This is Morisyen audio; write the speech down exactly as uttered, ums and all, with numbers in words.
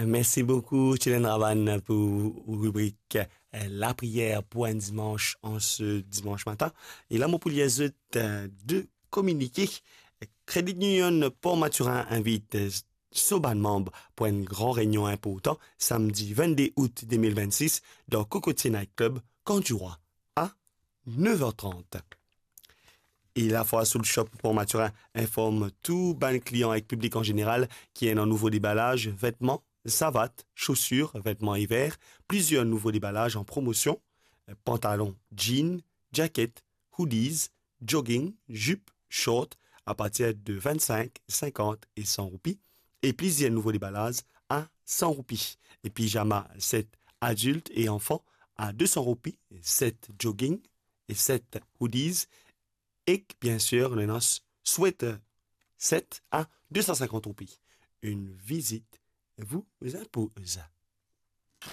Mersi boukou, Tilen Ravan, pou ribrik, eh, lapriyer pou enn dimanch an se dimanch matin. E la, mo pou lir zot, eh, de kominike. Credit Union Port Mathurin invit, eh, so bann manm pou enn gran reynion inportan, samdi vennde out de mil vennsis, dan Cocotier Night Club, Camp du Roi, a nev er trant. E Lafwa Soul Shop Port Mathurin inform tou bann klian ek piblik an zeneral ki ena nouvo debalaz vetman, savat, sosir, vetman iver, plizier nouvo debalaz an promosion, pantalon, jean, jaket, hoodies, jogging, zip, short, apartir de vennsink, sinkant e san roupi, e plizier nouvo debalaz a san roupi, e pizama set adilt e anfan a de san roupi, set jogging e set hoodies, ek, biensir, nou ena swet set a de san sinkant roupi. Une visite vous impose.